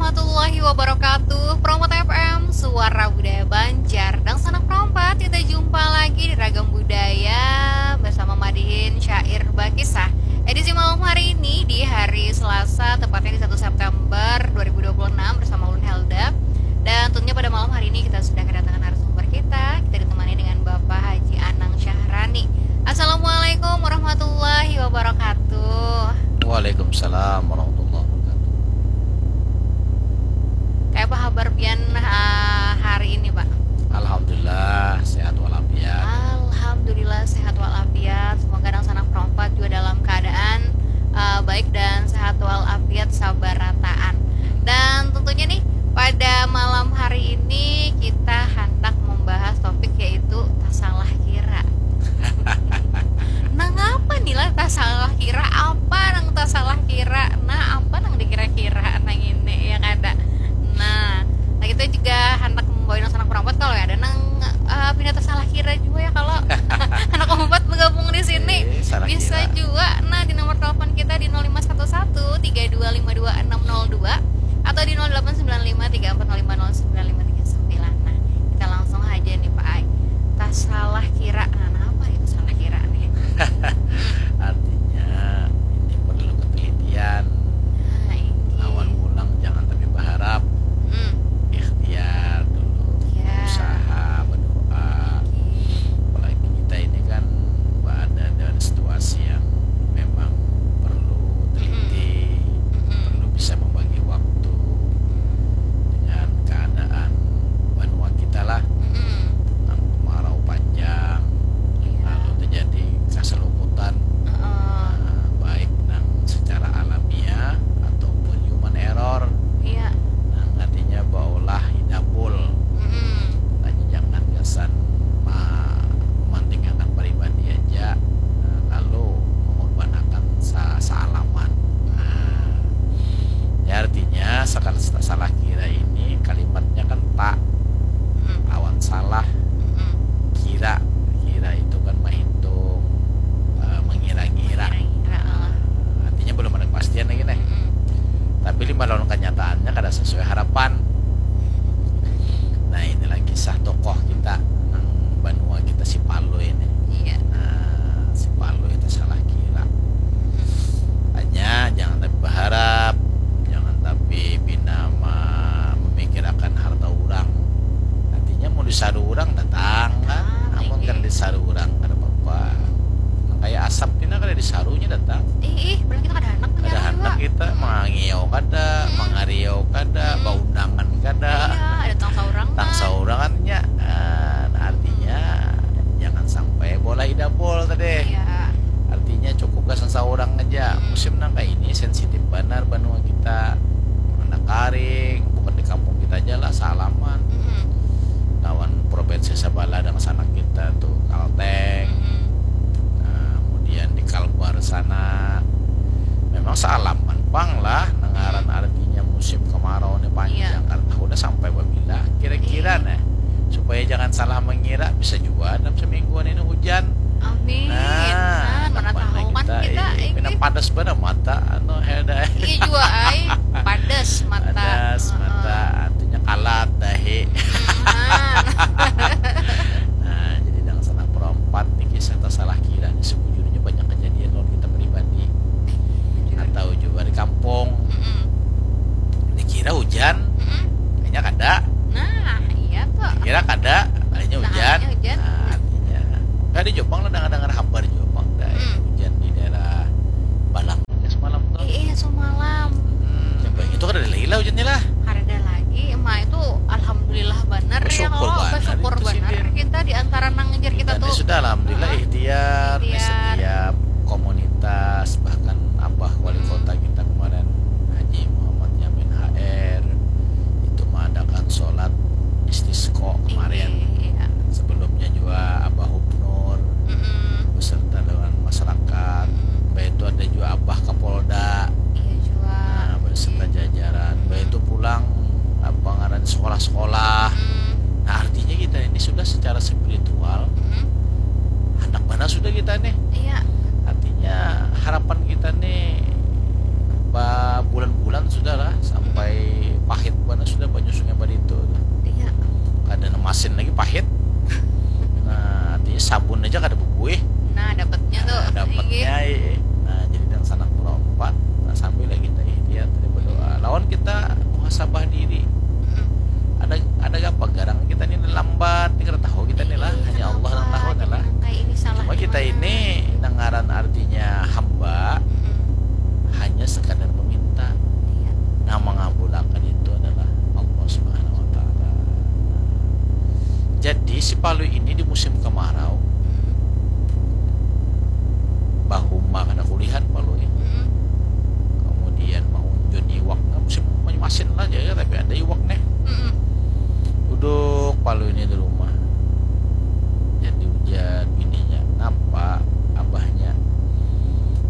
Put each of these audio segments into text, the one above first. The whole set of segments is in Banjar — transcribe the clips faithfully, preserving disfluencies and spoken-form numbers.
Warahmatullahi wabarakatuh. Perompat F M, suara budaya Banjar. Dangsanak perompat, kita jumpa lagi di Ragam Budaya bersama Madihin Syair Bakisah. Edisi malam hari ini di hari Selasa, tepatnya di satu September dua ribu dua puluh enam, bersama Ulun Helda. Dan tentunya pada malam hari ini kita sudah kedatangan narasumber kita. Kita ditemani dengan Bapak Haji Anang Syahrani. Assalamualaikum warahmatullahi wabarakatuh. Waalaikumsalam warahmatullahi wabarakatuh. Kayak apa kabar pian, ah, hari ini, Pak? Alhamdulillah, sehat walafiat. Alhamdulillah, sehat walafiat. Semoga dangsanak perompat juga dalam keadaan, ah, baik dan sehat walafiat sabarataan. Dan tentunya nih, pada malam hari ini kita hendak membahas topik, yaitu tasalah kira. Nang apa nih lah tasalah kira? Apa nang tasalah kira? Nah, apa nang dikira-kira nang ini, ya kada? Nah, nah, kita juga hendak membawa dangsanak perompat kalau ada nang, eh, pina tasalah kira juga ya, kalau anak empat bergabung di sini. Eh, salah bisa kira juga. Nah, di nomor telepon kita di nol lima satu satu tiga dua lima dua enam nol dua atau di nol delapan sembilan lima tiga empat nol lima nol sembilan lima tiga sembilan. Nah, kita langsung aja nih, Pak Ai. Tasalah kira. Nah, nah, apa itu salah kira nih? Artinya, ini perlu ketelitian. Nah, ini. Lawan pulang jangan tapi berharap. Hmm. Ikhtiar dulu. Ya. Usaha, berdoa. Oke. Apalagi kita ini kan ada dalam situasi yang memang perlu teliti, mm-mm, perlu bisa membagi waktu, mm, dengan keadaan banua kita lah. Mm-mm. Nang kemarau panjang, iya, lalu terjadi kaseluputan. Heeh. Nah, baik nang secara alamiah ataupun human error. Iya. Nah, artinya baulah hidapul. Mm-mm. Makanya jangan gasan ma-, mementingkan pribadi aja, nah, lalu mengorbankan sa-, sealaman. Nah, ya artinya sekali sa-, salah kira ini kalimatnya kan tak, mm, lawan salah. Mm-mm. Kira, kira itu kan menghitung, eh, mengira-ngira. Mengira-ngira, ah. Artinya belum ada kepastian lagi nih. Mm-mm. Tapi lima lawan kenyataannya kada sesuai harapan. Nah, inilah kisah tokoh kita nang banua kita, si Palui ini. Iya. Nah, si Palui itu salah kira. Hmm. Hanya jangan tapi berharap, jangan tapi pina ma-, memikirakan harta urang. Artinya mau disaru urang datang kan. Ah, amun iya, kada disaru urang kada apa-apa. Nang kayak asap pina kada disarunya datang. Ih, ih, berarti kita kada handak. Kada handak kita, mangangiau kada, hmm, mangariau kada, hmm, baundangan kada. Iya, ada tang saurangan. Tang saurangan nya. Ah, nah, artinya, hmm, jangan sampai bola idapol tadi. Iya. Artinya cukup gasan saurang aja. Hmm. Musim nang kayak ini sensitif banar banua kita. Nang karing, bukan di kampung kita aja lah, salaman. Mm-mm. Lawan provinsi sebelah dangsanak kita tuh, Kalteng. Mm-mm. Nah, kemudian di Kalbar sana memang sealaman pang lah, nang ngaran, hmm, artinya musim kemarau ni panjang. Iya. Kada tahu dah sampai babila. Kira-kira, iya, nah, supaya jangan salah mengira, bisa juga dalam semingguan ini hujan. Amin. Nah, nah, mana tahu kan kita, eh, ini padas banar mata, anu, Helda. Iya juga, ai. Padas mata. Padas mata, heeh, artinya kalat, dahi. Hmm, nah. Nah, jadi dangsanak perompat nih, kisah tasalah kira nih, sebujurnya banyak kejadian lawan kita pribadi. Jujur. Atau juga di kampung. Mm-mm. Dikira hujan, mm-mm, kayaknya kada. Nah, iya tuh. Dikira kada, kayaknya hujan. Nah, hujan. Nah, artinya. Kada jua pang lah, dengar-dengar kabar jua pang dah, hmm, hujan di daerah Balang ya semalam tuh. Iya, iya, semalam. Hmm, hmm, itu kada ada lagi lah hujannya lah. Kada ada lagi. Emang itu alhamdulillah banar ya, bersyukur kalau banar, bersyukur itu sih, banar kita di antara nang ngejar kita tuh. Kita nih sudah alhamdulillah, heeh, ikhtiar, ikhtiar, setiap komunitas, bahkan Abah Wali, hmm, Kota kita kemarin, Haji Muhammad Yamin H R, itu mengadakan sholat istisqa kemarin. Iya, iya. Sebelumnya juga Abah Hubnur, mm-mm, beserta dengan masyarakat. Mm. Bah itu ada juga Abah Kapolda. Iya juga. Nah, beserta, iya, jajaran. Mm. Bah itu pulang, apa ngaran, sekolah-sekolah. Mm. Nah, artinya kita ini sudah secara spiritual, mm-mm, handak mana sudah kita nih. Iya. Ada banyu sungai Barito tu. Iya. Kada nang masin lagi, pahit. Nah, artinya sabun aja kada bebuih. Nah, dapatnya tuh. Nah, dapatnya, iya. Nah, jadi dangsanak nomor empat. Nah, sambil lagi kita ikhtiar, kita berdoa. Lawan kita muhasabah diri. Mm-mm. Ada, ada apa garang kita ni lambat, ni kada tahu kita ni lah. Iya, hanya Allah nang tahu lah. Cuma kita ini nang ngaran artinya hamba, mm-mm, hanya sekadar meminta. Iya. Nah, mengabulakan itu adalah Allah Subhanahu wa Ta'ala. Jadi, si Palui ini di musim kemarau, mm-mm, bahuma kada kulihan Palui. Mm-mm. Kemudian, maunjun iwak. Nah, musim masin lah aja, tapi ada iwak nih. Mm-mm. Duduk Palui ini di rumah. Jadi, ujar bininya, "Napa abahnya?"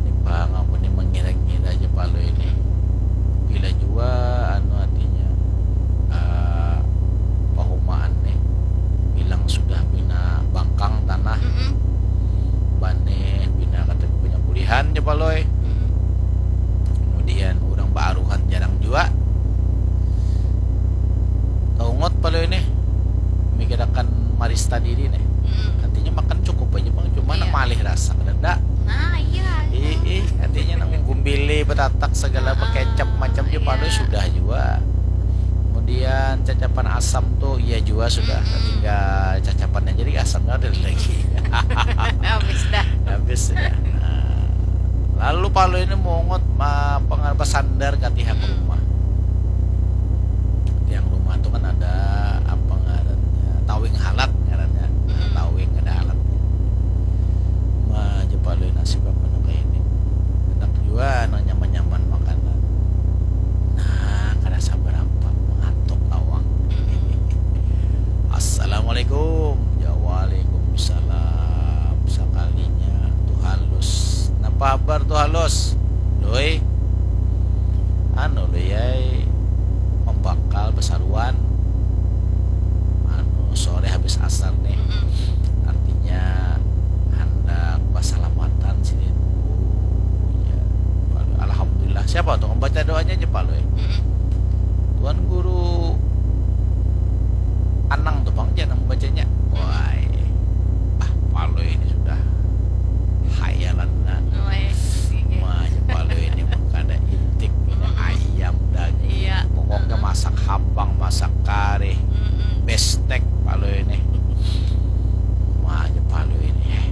Ini pang aku ni mengira-ngira aja Palui ini. Bila jua, anu, artinya, eh, pahumaan nih bilang sudah pina bangkang tanah, mm-mm, banih pina kata punya kulihan ja Palui. Mm-mm. Kemudian, urang baaruhan jarang jua. Taungut Palui nih mikirakan marista diri nih. Mm-mm. Artinya makan cukup aja, Bang, cuma, iya, nang malih rasa kada ada. Nah, iya. Ih, ih, artinya nang gumbili, betatak, segala, ah, bekecap macam ja Palui, iya, sudah jua. Kemudian cacapan asam tuh, iya jua sudah. Mm-mm. Tinggal cacapannya, jadi asamnya ada lagi. Habis dah. Habis sudah. Nah, lalu Palui ini mungut ma-, pengar-, basandar ka tiang, mm-mm, rumah. Tiang rumah tuh kan ada apa ngarannya, tawing halat ngarannya. Nah, mm-mm, tawing ada halatnya. Ma, ja Palui, nasib aku nang kaya ini. Handak jua nang nyaman-nyaman makanan. Nah, kada sabar apa, mangantuk awak. Mm-mm. "Assalamualaikum." Ya, "Waalaikumsalam." Sakalinya Tuh Halus. "Napa habar, Tuh Halus?" "Lui, anu, Lui ai, mambakal basaruan. Anu, sore habis asar nih. Mm-mm. Artinya handak basalamatan sini." "Oh, ya." "Alhamdulillah." "Siapa tuh? Membaca doanya aja, Palui." Mm-mm. "Tuan Guru Anang tuh, Bang, jangan membacanya." Wah, ah, Palui ini sudah hayalan, nah. Weh, iya. Wah, ya, Palui ini mah kada intik, ini, mm-mm, ayam, daging. Iya. Pokoknya, mm-mm, masak habang, masak karih, mm-mm, bestek Palui ini. Wah, ya, Palui ini, eh.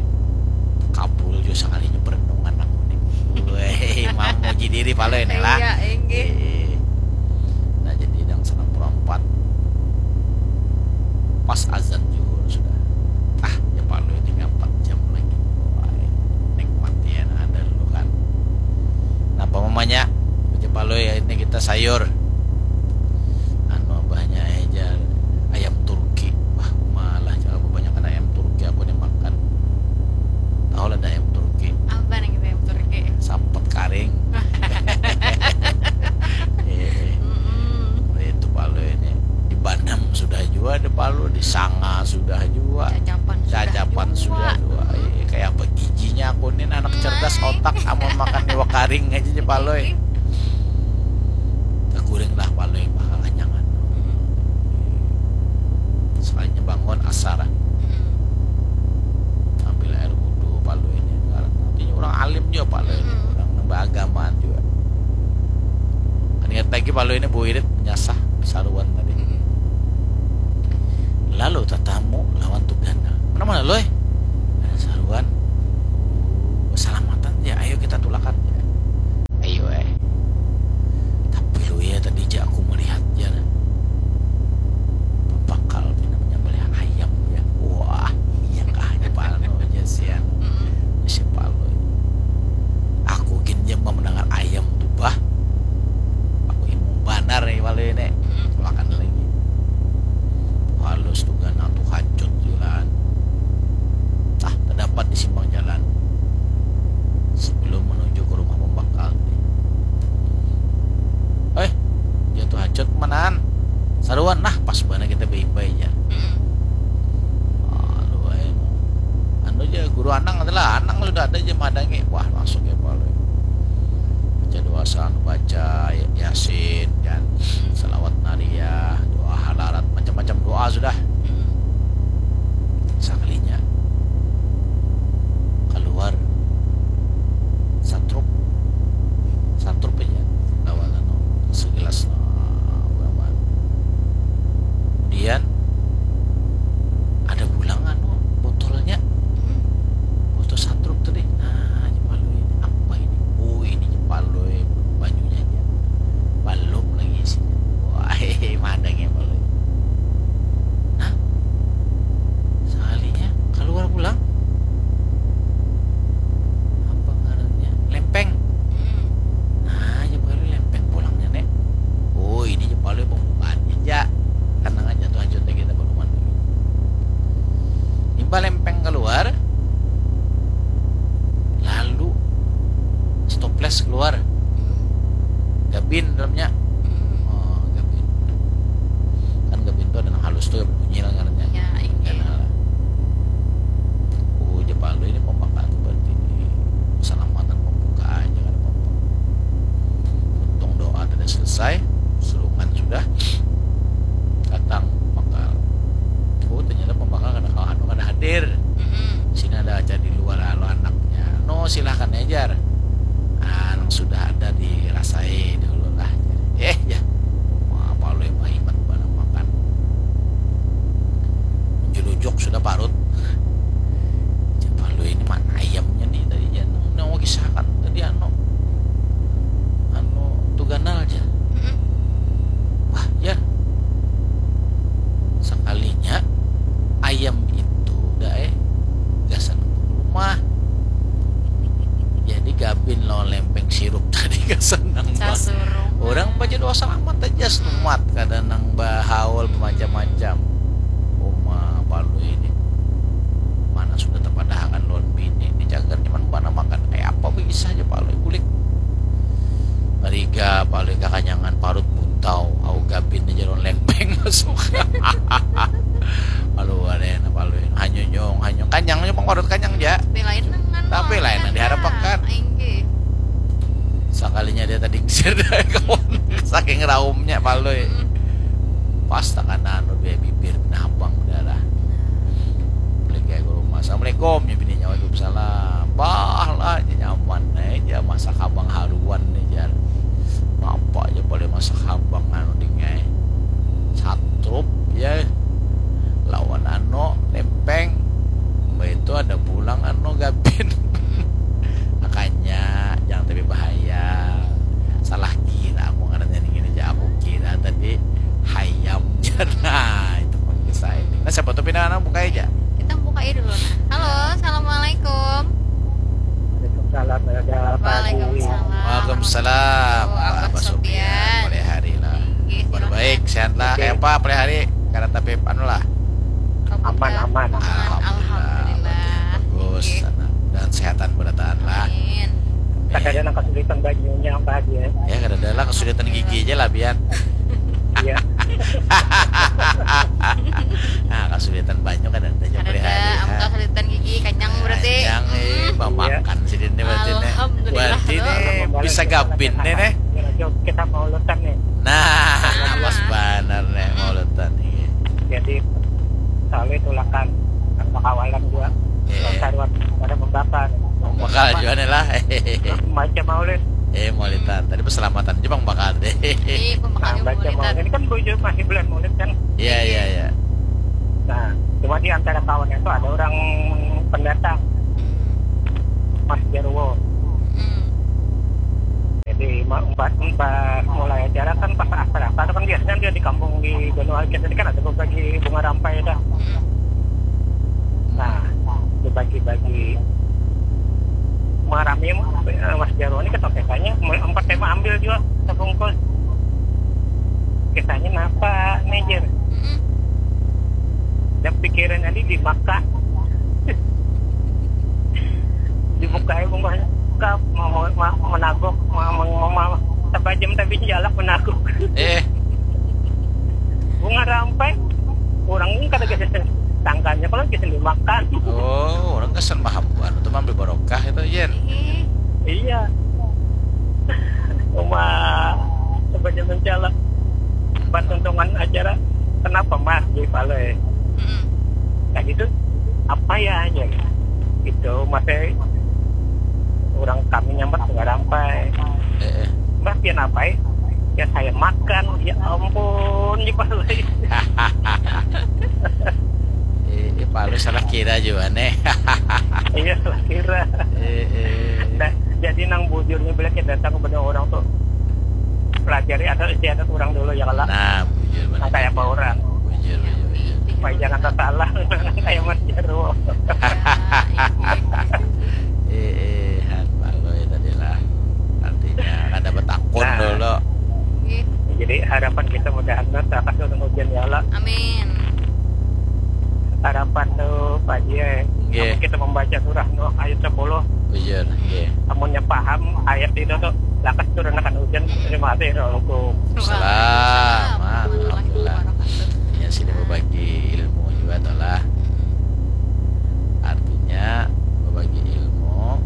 Kabul juga sekalinya perenungan aku nih. Weh, mau muji diri Palui ini lah. Iya, inggih. Eh. Nah, jadi dangsanak nomor empat. Pas azan juhur sudah. Ah, ya Palui, tinggal empat jam lagi. Wah, nikmati ya, nah, ada dulu kan. Napa mamanya? Baca Palui, ya, ini kita sayur. Anu, abahnya, eh, jar, ayam Turki. Wah, malah, jangan kebanyakan ayam Turki aku nih makan. Tahu lah, ada ayam Turki. Apa nih kita ayam Turki? Sapet karing. Eh, mm-mm, itu Palui ini. Di Banam sudah jua, di Palui, di Sanga sudah jua. Cacapan sudah jua. Cacapan sudah jua. Eh, kayak apa giginya aku nih, anak cerdas otak, amun makan iwak karing aja, ja Palui. Taguring lah Palui, bakal anyangan. Mm-mm. Sekalinya bangun asar, ah. Mm-mm. Ambil air wudhu Palui ini. Artinya orang alim juga Palui ini. Mm-mm. Orang nang baagamaan juga. Kan ingat lagi Palui ini buirit menyasah saruan tadi. Mm-mm. Lalu tatamu lawan Tugana. "Mana-mana, Lui?" Ada saruan. "Oh, salamatan ya, ayo kita tulakan." Ya. Ayo, eh. Tapi Lui ya, tadi ja aku melihat, jar. Pambakal pina menyembelih ayam, ya. Wah, iya kah, ini Palui aja sian. Mm-mm. Si Palui. Aku gin ja mendengar ayam tuh, bah. Aku himung banar nih Palui ini. Mm-mm. Makan lagi. Halus Tugana tuh hacut jualan. Tah, terdapat di simpang jalan. Sebelum menuju ke rumah baca Yasin, kan, salawat nariyah, doa halarat, macam-macam doa sudah. Sakalinya kaluar satrup, satrup aja lawan anu, segelas, ah, urang baru. Kemudian ada pulang anu botolnya, botol satrup tadi. Nah, jar Palui, ini apa ini? Oh, ini, jar Palui, banyunya aja, balum lagi isinya. Wah, madang ya Palui. Nah, sakalinya kaluar pulang, apa ngarannya, lempeng. Nah, jar Palui, lempeng pulangnya, Nek. Oh, ini, jar Palui, pembukaannya aja. Tenang aja tuh, hajut lagi, kita baruman lagi. Imbah lempeng keluar, lalu si toples keluar. Gabin dalamnya. Oh, gabin. Kan gabin tuh ada nang halus tuh, bunyi lah ngarannya. Ya, inggih. Kan, ah. Oh, jar Palui, ini pembukaan tuh berarti ini keselamatan pembukaannya, kada apa-apa. Untung doa tidak selesai, sulungan sudah. Datang pembakal. Oh, ternyata pembakal kada kawa anu, kada hadir. Mm-mm. Sini ada acara di luar, halo anaknya. No, silahkan aja, jar. Ah, nang sudah ada dirasai dulu lah. Eh, ya. Wah, Palui mah himat banar makan. Menjelujuk sudah parut. Jar Palui, ini mana ayamnya nih tadi, jar, nang, nang kisahkan tadi, anu, anu, tu ganal, jar. Mm-mm. Wah, jar. Sakalinya ayam itu dah, eh, gasan rumah. Jadi gabin lawan lempeng sirup tadi gasan nang ba-, sasurungan. Orang baca doa selamat aja, selamat, kada nang bahaul, hmm, macam-macam. Uma Palui ini mana sudah tapadahakan lawan bini, ini cagar nyaman banar makan. Kayak apa bisa aja Palui bulik. Mariga Palui kakanyangan, parut buntau, au gabin aja lawan lempeng masuk. Palui ada enak, Palui hanyunyung, hanyung, kanyangnya pang, parut kanyang ja. Tapi lain nang anu, tapi lain nang diharapkan. Inggih. Sakalinya dia tadi ngisir dari kawan, saking raumnya Palui. Mm. Pas takana anu, dua bibir benabang darah. Balik ke rumah. "Assalamualaikum," ya bininya. "Waalaikumsalam." "Bah lah, jar, nyaman aja masak habang haruan nih," jar. Apa aja boleh masak habang anu dingai. Satrup ya. Lawan anu, lempeng. Mbah itu ada pulang anu, gabin. Makanya jangan tapi bahaya. Salah kira aku ngarannya nih gini aja. Aku kira tadi hayam. Nah, itu pang kisah ini. Nah, siapa tuh pinangan buka aja. Kita buka aja dulu, nah. Halo, assalamualaikum. Waalaikumsalam, ada Pak Haji. Waalaikumsalam. Waalaikumsalam. Warahmatullahi wabarakatuh. Abah Sofian, Sofian. Mulai hari lah. Inggih, kabar silakan. Baik, sehat lah. Oke. Kayak apa mulai hari? Karena tapi anu lah. Aman, aman. Alhamdulillah. Alhamdulillah. Bagus. Oke. Sana. Dan sehatan berataan lah. Amin. Amin. Kada ada nang kasulitan banyunya, Pak Haji, ya? Ya, kada ada lah, kasulitan gigi aja lah, Bian. Iya. Nah, kasulitan banyu kada ada aja. Kada ada, prihari, amun ha, kasulitan gigi, kanyang berarti. Kanyang, eh, hmm, mamakan sidin nih berarti nih. Alhamdulillah. Berarti nih bisa gabin nih, nih. Kita mau lutan nih. Nah, pas banar nih, mau lutan nih. Jadi, selalu tulakan, bakawalan juga. Iya. Kalau saruan pada membakar. Membakar juga nih lah. Baca maulid. Eh, maulidan. Tadi perselamatan aja pang bakal deh. Iya, pembakar. Nah, baca maulidan. Maulid. Ini kan bujur masih bulan maulid kan? Iya, iya, iya. Nah, cuma di antara kawan itu ada orang pendatang. Hmm. Mas Jarwo. Hmm. Jadi, ma-, empat, empat mulai acara kan pas asar-asar kan biasanya dia di kampung di Banua Alit tadi kan ada berbagi bunga rampai dah. Hmm. Nah, dibagi-bagi. Marami, eh, Mas Jarwo ini ketoketanya, empat tema ambil juga, sebungkus. Kisahnya napa nih, Jer? Mm-mm. Dan pikirannya ini dimakan. Dibukai bungkusnya, kap, mau, mau, mau menaguk, mau, mau, mau, mau, tapajam tapi jalak menaguk. Eh. Bunga rampai, orang ini kada gasan tangkanya, kalau gasan dimakan. Oh, orang gasan maham, anu tuh, ambil barokah itu, Yen. Iya. Cuma sebagai mencalak, pas tuntungan acara, "Kenapa, Mas?" Di Palui. Mm-mm. Nah, gitu, "Apa ya?" aja. Gitu, masih orang kami nyambat nggak rampai. Eh, eh. "Mas, pian apa ya?" "Ya, saya makan." Ya ampun, di Palui. Eh, eh, Palui salah kira juga nih. Iya, salah kira. Eh, eh. Nah, jadi nang bujurnya bila kita datang kepada orang tuh, pelajari asal istiadat orang dulu ya, kalau nah, bujur, nang kayak apa orang. Bujur, bujur, bujur. Supaya jangan tersalah kayak Mas Jarwo. Eh, eh, han Palui tadi lah. Artinya kada betakun nah, dulu. Jadi harapan kita mudahan lah takas turun hujan ya Allah. Amin. Harapan tu Pak Jie, nggih, kita membaca surah Nuh ayat sepuluh. Bujur, nggih. Amunnya paham ayat itu tuh, lakas turunakan hujan. Terima kasih. Assalamualaikum. Salam. Alhamdulillah. Ya, sini berbagi ilmu juga tuh lah. Artinya berbagi ilmu.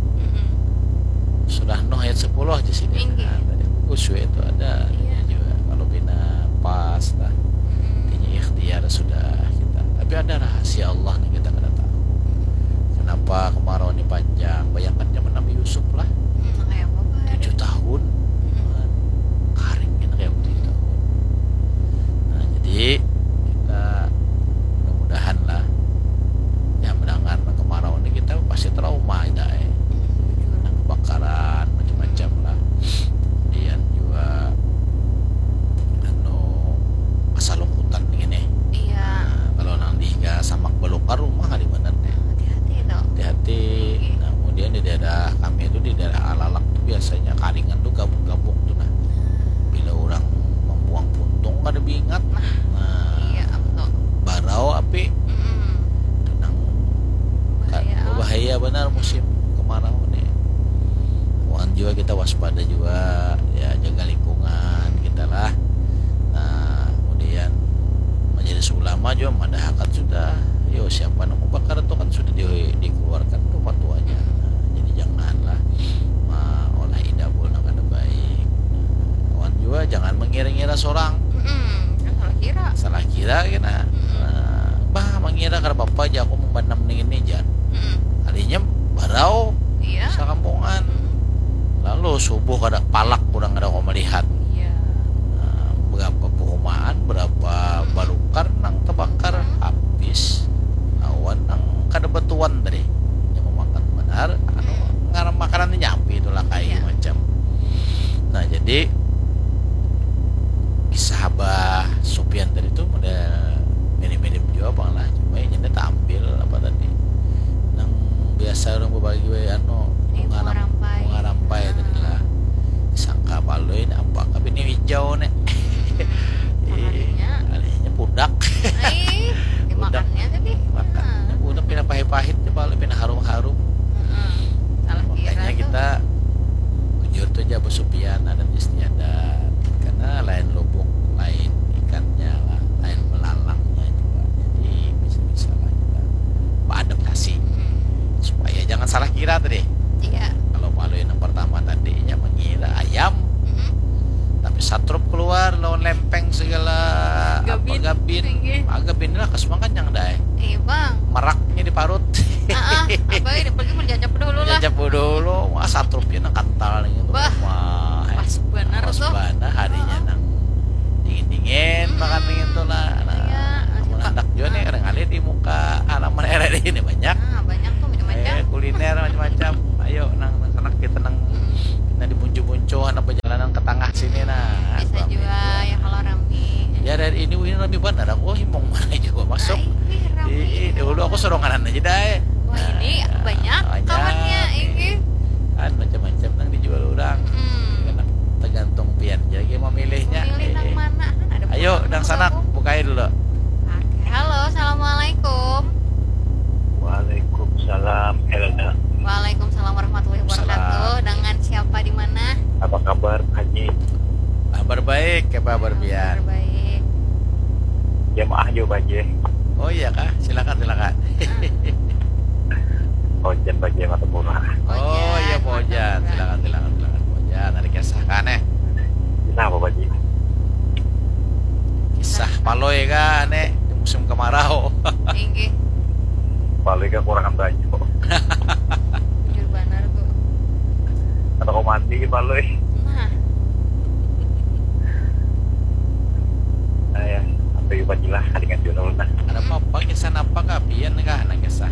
Surah Nuh ayat sepuluh aja sini. Nah, tadi aku kusui itu ada juga. Kalau pina pas lah. Artinya ikhtiar sudah kita. Tapi ada rahasia Allah nih kita kada tahu. Kenapa kemarau ini panjang? Bayangkan zaman Nabi Yusuf lah. Tujuh tahun. Karing kan kayak tujuh tahun. Nah, jadi kita mudah-mudahan lah. Ya, mendengar kemarau ini kita pasti trauma kita, eh. Nah, kebakaran, macam-macam lah. Kemudian juga, anu, kasalukutan ini. Iya. Nah, kalau nang di higa samak belukar rumah di mana nih? Hati-hati itu. Hati-hati. Nah, kemudian di daerah kami itu, di daerah Alalak tuh biasanya karingan tuh gabuk-gabuk tuh nah. Bila orang membuang puntung kada diingat. Nah, iya, betul. Barau api. Mm-mm. Itu nang bahaya, bahaya benar musim kemarau nih. Wan juga kita waspada juga, ya, jaga lingkungan kita lah. Nah, kemudian majelis ulama juga madahakan sudah, yo, siapa nang bakar itu kan sudah di, dikeluarkan tuh fatwanya. Nah, jadi janganlah maolah idabul nang kada baik. Nah, kawan juga jangan mengira-ngira seorang. Mm-mm, kan salah kira. Salah kira kena. Mm-mm. Nah, bah, mengira kada apa-apa aja aku membanam nih ini, jar. Mm-mm. Kalinya barau. Iya. Sakampungan. Mm-mm. Lalu subuh kada palak, kurang kada kau melihat. Iya. Nah, berapa perumahan, berapa balukar nang terbakar, habis. Awan nang kada batuan tadi. Yang memakan benar, anu, ngaran makanan ni nyampi itulah kayu macam. Nah, jadi kisah Abah Supian tadi tu model mirip-mirip jua pang lah. Cuma inya ni tampil apa tadi, nang biasa urang babagi wae, anu, bunga rampai. Bunga rampai tadi lah. Disangka Palui ni apa kah bini hijau ni. Ih, alihnya pudak. Ai, dimakannya tadi. Makannya pudak, pina pahit-pahit, coba lu pina harum-harum. Heeh. Salah kira tuh. Makanya kita bujur tu ja, Abah Supian, adat istiadat. Karena lain lubuk, lain ikannya lah, lain belalangnya juga. Jadi bisa-bisa lah kita beadaptasi. Hmm. Supaya jangan salah kira tadi. Iya. Kalau Palui nang pertama tadi, inya mengira ayam. Mm-mm. Tapi satrup keluar, lawan lempeng segala, apa, gabin. Gabin. Inggih. Ah, gabin lah, kas makan yang dah, eh. Iya, Bang. Meraknya di parut. Ah, ah, apa ini? Pergi menjajap dulu lah. Menjajap dulu. Wah, satrupnya nang kental nih, gitu. Bah, wah, pas banar tuh. Pas banar, harinya nang dingin-dingin, makan dingin tuh lah. Nah, iya, amun handak jua nih, kada ngalih di muka halaman R R I ini banyak. Ah, banyak tuh macam-macam. Eh, kuliner macam-macam. Ayo, nang, nang sanak kita nang, nang di buncu-buncu, nang perjalanan ke tengah sini, nah. Bisa jua, ya, kalau rami. Ya, dari ini, ini rami banar. Aku himung mana juga masuk. Ai, wih, rami. Ih, dahulu aku soronganan aja dah, eh. Wah, ini banyak kawannya, ini. Kan macam-macam nang dijual orang. Mm-mm. Kena tergantung pian ja lagi memilihnya. Memilih nang mana? Kan ada. Ayo, nang sanak, bukai dulu. Oke. Halo, assalamualaikum. Waalaikumsalam, Elda. Waalaikumsalam warahmatullahi wabarakatuh. Salam. Dengan siapa, di mana? Apa kabar, Haji? Kabar baik, apa kabar pian? Kabar baik. Jamaah juga, Pak Haji. Oh iya kah? Silakan, silakan. Ojan Pak Haji, Martapura. Oh iya, Pak Ojan. Silakan, silakan, silakan, Pak Ojan. Ada kisah kan, eh? Kah, Nek, di musim kemarau. Inggih. Paling kekurangan baju. Bujur banar tuh. Atau kau mandi, Palui. Nah. Nah, ya, sampai jumpa lah dengan Junul. Nah. Ada apa-apa, kisah apa kah? Pian kah? Nah, kisah.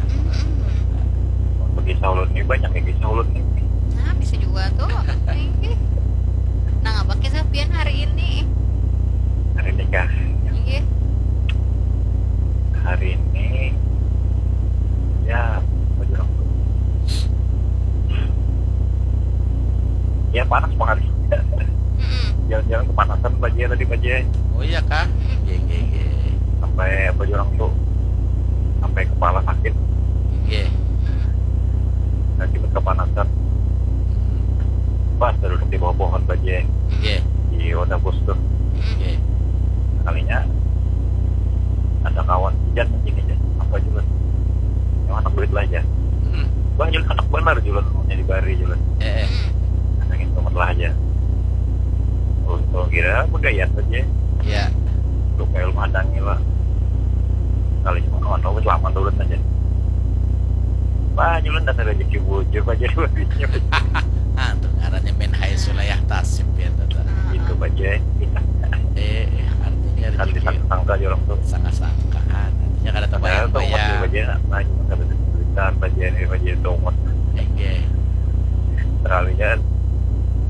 Kisah ulun ini banyak ya, kisah ulun ini. Nah, bisa juga tuh. Inggih. Nah, apa kisah pian hari ini? Hari ini kah? Inggih. Hari ini, ya, apa bilang tuh? Ya, panas banget. Mm-mm. Jalan-jalan kepanasan, Baje, tadi, Baje. Oh iya kah? Nggih, nggih, nggih. Sampai, apa bilang tuh? Sampai kepala sakit. Nggih. Akibat kepanasan. Pas duduk di bawah pohon, Baje. Nggih. Di Wadah Bus tuh. Nggih. Sekalinya ada kawan, jan gini, jan. Apa, Julan? Yang anak duit lah, jan. Hmm. Bah, Julan, anak benar, Julan. Maunya dibari, Julan. Eh, eh. Angin banget lah aja. Ulun tuh kira begayat aja. Ya. Lu kayak lu madangi lah. Kali cuma kawan, oh, selamat ulun aja. Wah, Julan, dasar rezeki bujur aja dua duitnya. Ah, tuh ngarannya main high sulayah tasib ya, tuh, tuh. Itu aja. Eh, eh, artinya Kan rezeki. disangka-sangka aja orang tuh. Sangka-sangkaan. Artinya kada Padahal terbayang tuh amat ya. Aja, nah, cuma kada ada cerita, aja ini, aja itu amat. Oke. Sekalinya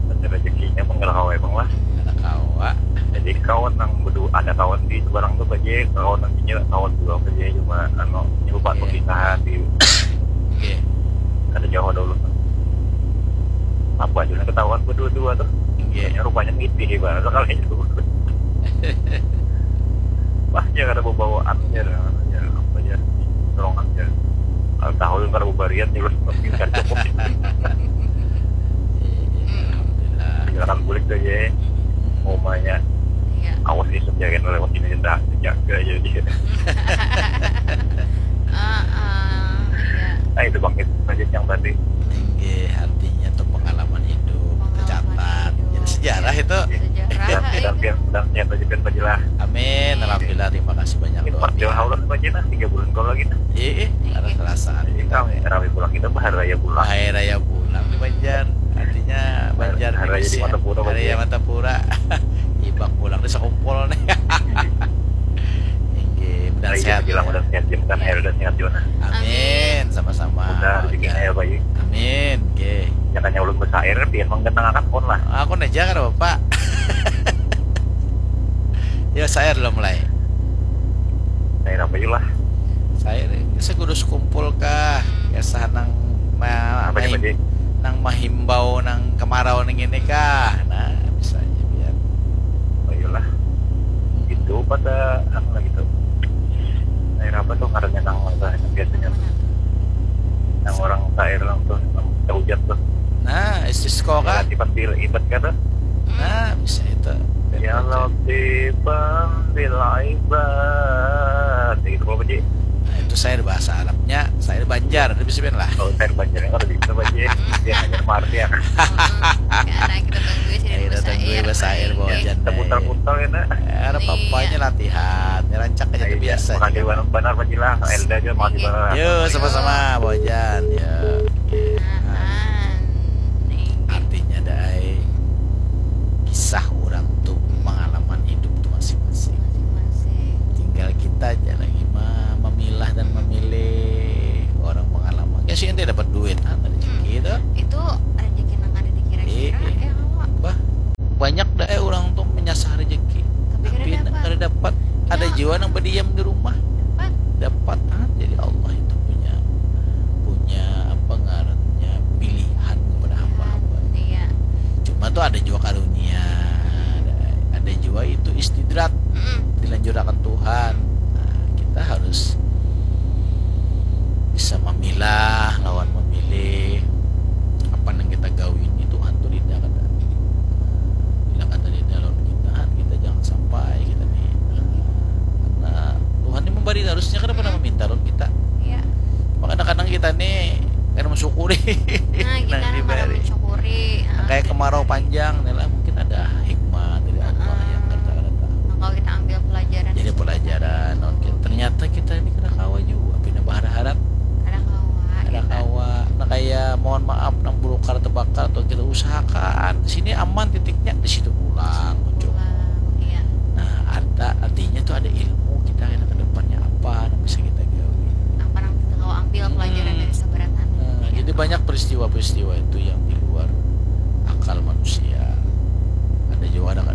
ada rezekinya, menggerak awal emang lah. Ada kawa. Jadi kawan yang berdua, ada kawan di seberang tuh aja, kawan yang ini kawan dua aja, cuma anu, nyelupan Iya. Perpisahan di Oke. Kada jauh dulu. Apa aja ketahuan berdua-dua tuh. Iya. Kayaknya rupanya nitih banget sekali itu. Wah, dia kada bebawaan aja, ya, apa aja, dorongan aja. Kalau tahu yang kada bebarian juga mungkin kada cukup. Alhamdulillah. Silakan bulik aja. Umumnya Iya. Awas isuk ya kan lewat ini, tidak jaga aja dia. Ah, ah, iya. Nah, itu bangkit aja yang tadi. Tinggi, artinya tuh pengalaman hidup Pengalaman tercatat. hidup. Jadi sejarah itu. Sejarah. Dan Iya. dan dan dan dan aja kan aja lah. Amin. Alhamdulillah, terima kasih banyak, Ini luar pas jual biasa. Haulon aja nah tiga bulan kalau lagi nah. Iya, iya, ada perasaan. Jadi kami rawi pulang kita bahar raya pulang. Hari raya pulang di Banjar. Artinya Banjar Hari raya di Indonesia. Martapura, Hari raya Banjar. Martapura. Iba pulang di sekumpul nih. Inggih, mudah Hari sehat. Jadi bilang udah sehat, Jim, kan air udah sehat juga nah. Amin, sama-sama. Udah rezekinya ya, Pak, ya. Amin, oke. Jangan yang ulun besair, biar menggenang akan pun lah. Aku nih jangan apa, Pak. Ya, saya belum mulai. Saya apa lah. Saya saya kudu sekumpul kah? Ya sah nang ma- Apa nih, mahim- Pak, Ji? nang mahimbau nang kemarau ning ini kah? Nah, bisa aja biar. Ayolah. Itu pada anu lagi tuh. Saya apa tuh karena nang biasanya tuh. Yang orang sair orang tuh, yang hujat tuh. Nah, istisqa kah? Sifat bil ibad kata. Nah, bisa itu. Ya Latifan bil ibad. Gitu apa sih? Nah, itu saya bahasa Arabnya, saya Banjar, itu bisa lah. Kalau saya Banjarnya kalau bisa apa sih? Dia hanya marti ya. Karena kita tunggu sih Ayo datang gue bahasa air bawa jan. Seputar-putar ya nak. Ada apa-apanya latihan, rancak aja Ayo, tuh biasa. Makasih banget benar Pak Jila. Elda juga makasih banget. Yo, sama-sama, bawa jan. Ya. Nah, nih. Artinya dai kisah orang tuh pengalaman hidup tuh masing-masing. Masing-masing. Tinggal kita aja lagi ma- memilah dan memilih orang pengalaman. Ya sih ente dapat duit, ah, rezeki tuh. Itu rezeki nang ada dikira-kira Iya. ya awak. Bah, banyak dah eh orang tuh menyasar rezeki. Tapi kada dapat. Kada dapat. Ada Ya. Jiwa nang berdiam di rumah. Dapat. Dapat, ah, jadi Allah itu punya punya apa ngarannya pilihan kepada hamba-hamba. Iya. Cuma tuh ada juga karunia, ada, ada juga itu istidrak Mm-mm. dilanjurakan Tuhan. Nah, kita harus bisa memilah lawan memilih apa yang kita gawi ini Tuhan tuh tidak ada bila kata di dalam kita kita jangan sampai kita nih karena Tuhan ini memberi harusnya kan pernah meminta lawan kita Iya. Makanya kadang kita nih kan mensyukuri Nah, kita nang nang kada diberi. mensyukuri. Nah, Nah, kayak kemarau panjang nih lah mungkin ada hikmah dari Allah yang kita kada tahu. Nah, kalau kita ambil pelajaran Jadi pelajaran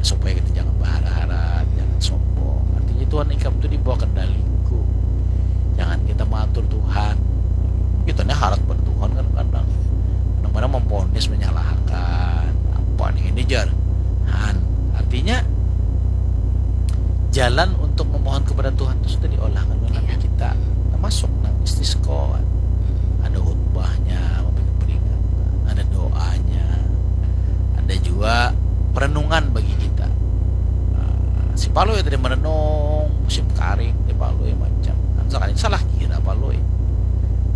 supaya kita jangan bahara-hara, jangan sombong. Artinya Tuhan ikam tu di bawah kendaliku. Jangan kita mengatur Tuhan. Kita ni harat pada Tuhan kadang-kadang. Kadang-kadang memponis, menyalahkan. Apa nih ini jar? Han. Artinya jalan untuk memohon kepada Tuhan itu sudah diolahkan oleh Nabi kita, termasuk nang istisqa. Ada khutbahnya, memberikan peringatan, ada doanya, ada juga perenungan bagi kita. Nah, si Palui tadi merenung musim karing, si Palui macam kan, sekali salah kira Palui,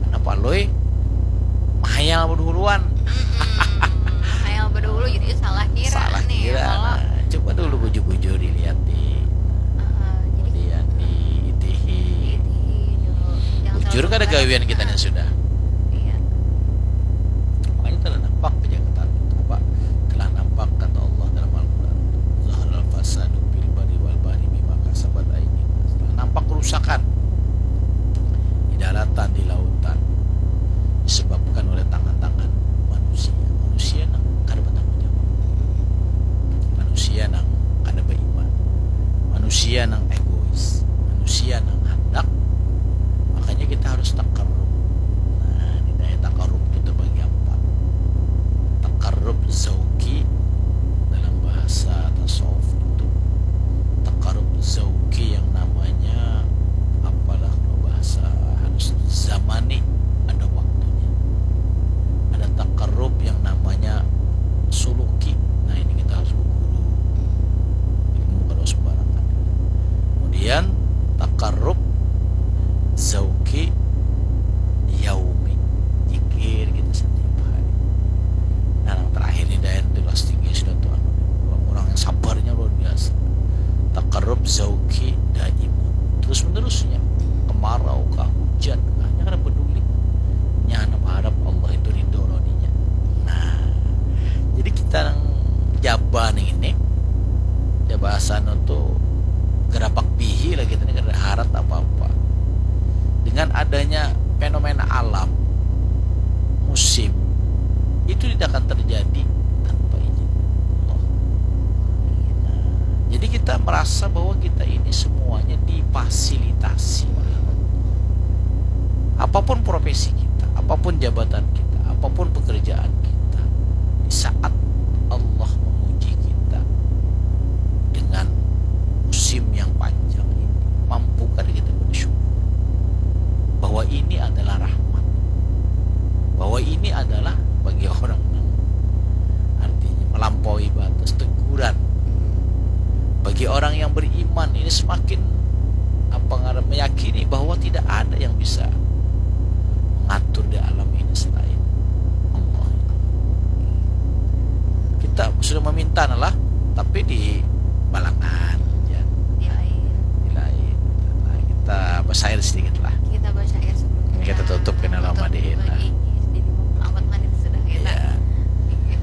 karena Palui mahayal berduluan. Hayal berdulu jadi salah kira Salah nih kira. Kalau Nah, coba dulu bujur-bujur dilihat di Ah, jadi kemudian di itihi. Itihi dulu. Jangan Bujur terlalu kada berat. gawian kita yang sudah. Iya. Makanya telah nampak pejaketan apa, telah nampak kata Allah dalam Al-Quran, "Zaharal fasadu fil barri wal bahri bima kasabat aidin nas." Telah nampak kerusakan di daratan, di lautan, disebabkan oleh tangan-tangan manusia. Manusia nang kada bertanggung jawab, manusia nang kada beriman, manusia nang egois, manusia nang handak. Makanya kita harus takarrub. Nah, di daya takarrub itu terbagi empat. Takarrub zauki dalam bahasa tasawuf itu. Takarrub zauki yang namanya apalah kalau bahasa halus, zamani, ada waktunya. Ada takarrub yang namanya suluki. Nah, ini kita harus berguru. Ilmu kada sembarangan. Kemudian takarrub zauki yaumi, zikir kita setiap hari. Nah, yang terakhir ini, Dayan, itu kelas tinggi sudah tuh, anu, orang-orang yang sabarnya luar biasa. Takarrub zauki daimun, terus menerusnya, kemarau kah, hujan kah, nya kada peduli. Nya handak harap Allah itu ridho lawan inya. Nah, jadi kita nang jaba nih ini, jaba asano tuh gerapak bihi lah kita nih, kada harat apa-apa. Dengan adanya fenomena alam, musim, itu tidak akan terjadi tanpa izin Allah. Nah, jadi kita merasa bahwa kita ini semuanya difasilitasi oleh Allah. Apapun profesi kita, apapun jabatan kita, apapun pekerjaan kita, di saat Allah menguji kita dengan musim yang panjang ini, mampu kada kita bersyukur bahwa ini adalah rahmat, bahwa ini adalah bagi orang yang artinya melampaui batas, teguran bagi orang yang beriman. Ini semakin apa ngaran, meyakini bahwa tidak ada yang bisa mengatur di alam ini selain Allah. Kita sudah meminta lah, tapi di balangan, ya, Di lain. di lain. Nah, kita bersair sedikit lah. Kita baca ya sebelum Kita tutup kena lama tutup dihin lah. Lagi. Jadi mau lambat menit sudah kita. Iya. Iya.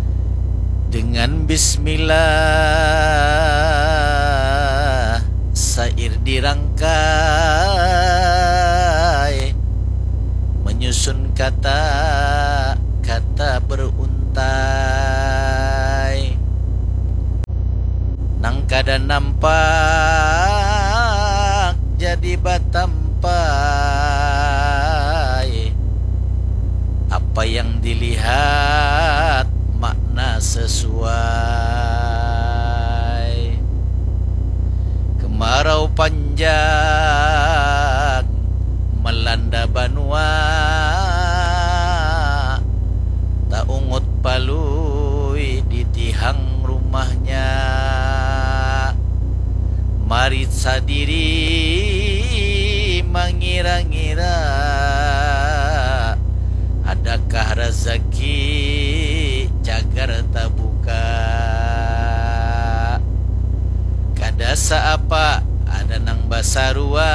Dengan bismillah sair dirangkai, menyusun kata, kata beruntai. Nang kada nampak jadi batampai. Apa yang dilihat makna sesuai. Kemarau panjang melanda banua, taungut Palui di tihang rumahnya. Mari sadiri mangira-ngira, adakah razaki cagar tabuka? Kada saapa ada nang basarua,